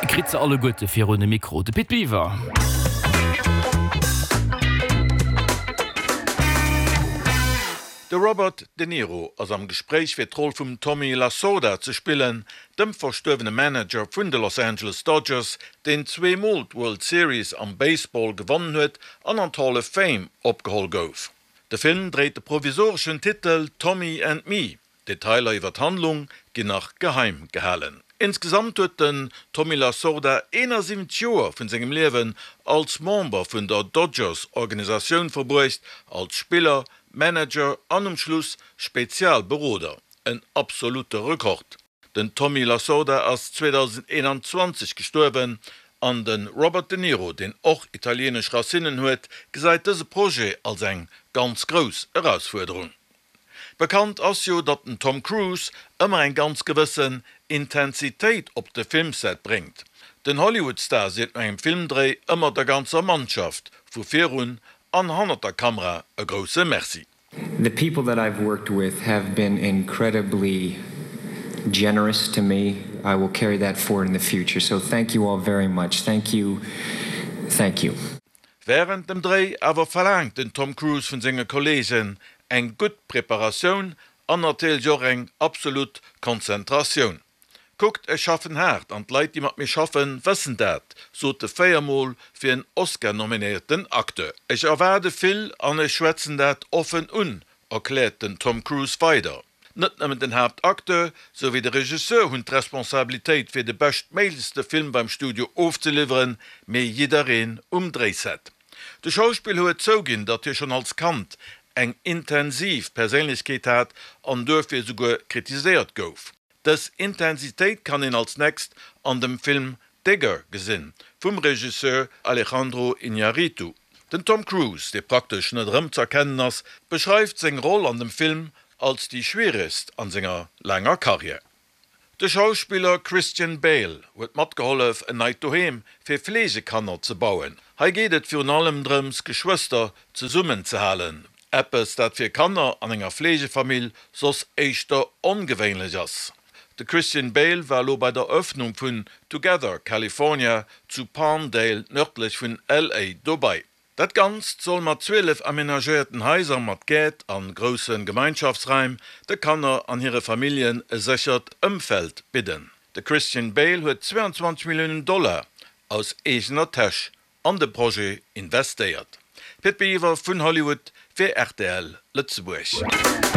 Kritt se alleguerte virun de Mikro, de Pit Biwer. De Robert De Niro ass am Gespréich fir d'Roll vum Tommy Lasorda ze spillen, dem verstuerwene Manager vun de Los Angeles Dodgers, deen zweemol d'World Series am Baseball gewonnen huet an an d'Hall of Fame opgeholl gouf. De Film dréit de provisoreschen Titel Tommy and Me. Detailer iwwer d'Handlung ginn nach geheim gehalen. Insgesamt huet den Tommy Lasorda 71 Joer vun sengem Liewen als Member vun der Dodgers-Organisatioun verbruecht, als Spiller, Manager an um Schluss Spezialberoder. En absolute Rekord. Den Tommy Lasorda ass 2021 gestuerwen an de Robert De Niro, deen och italienesch Racinnen huet, gesäit dëse Projet als eng ganz grouss Erausfuerderung. Bekannt ass jo, datt den Tom Cruise ëmmer eng ganz gewëssen Intensitéit op de Filmset bréngt. Den Hollywood-Star seet no engem Filmdréi ëmmer der ganzer Mannschaft, vu virun an hannert der Kamera, e grousse Merci. The people that I've worked with have been incredibly generous to me. I will carry that forward in the future. So thank you all very much. Thank you. Thank you. Wärend dem Dréi awer verlaangt den Tom Cruise vun senge Kolleegen eng gutt Preparatioun an natierlech och eng absolut Konzentratioun. Kuckt, ech schaffen haart an d'Leit déi mat mir schaffen, wëssen dat, sot de véiermol fir en Oscar nominéierten Acteur. Ech erwaarde vill an ech schwätzen dat offen un, erkläert den Tom Cruise weider. Net nëmmen den Haaptacteur, sou wéi de Regisseur hunn d'Responsabilitéit fir de beschtméiglechste Film beim Studio ofzeliwweren, mee jiddereen um Dréiset. De Schauspiller huet zouginn, datt hie schonn als Kand eng intensiv Perséinlechkeet hat an duerfir esouguer kritiséiert gouf. Dës Intensitéit kann een als nächst an dem Film Digger gesinn, vum Regisseur Alejandro Iñárritu. Den Tom Cruise, dee praktesch net erëmz'erkennen ass, beschreift seng Roll an dem Film als déi schwieregst an senger laanger Karriär. De Schauspiller Christian Bale huet matgehollef en neit Doheem fir Fleegekanner ze bauen. Hei geet et virun allem drëms Geschwëster zesummen ze halen, eppes dat fir Kanner an enger Fleegefamill soss éischter ongewéinlech ass. De Christian Bale war elo bei der Eröffnung vun Together California zu Palmdale nërdlech vun LA dobei. Dat Ganzt soll mat 12 amenagéierten Haiser mat Gäert an grousse Gemeinschaftsraim de Kanner an hire Familljen e séchert Ëmfeld bidden. De Christian Bale huet 22 Milliounen Dollar aus eegener Täsch an de Projet investéiert. Pit Biwer vun Hollywood fir rtl Lëtzebuerg.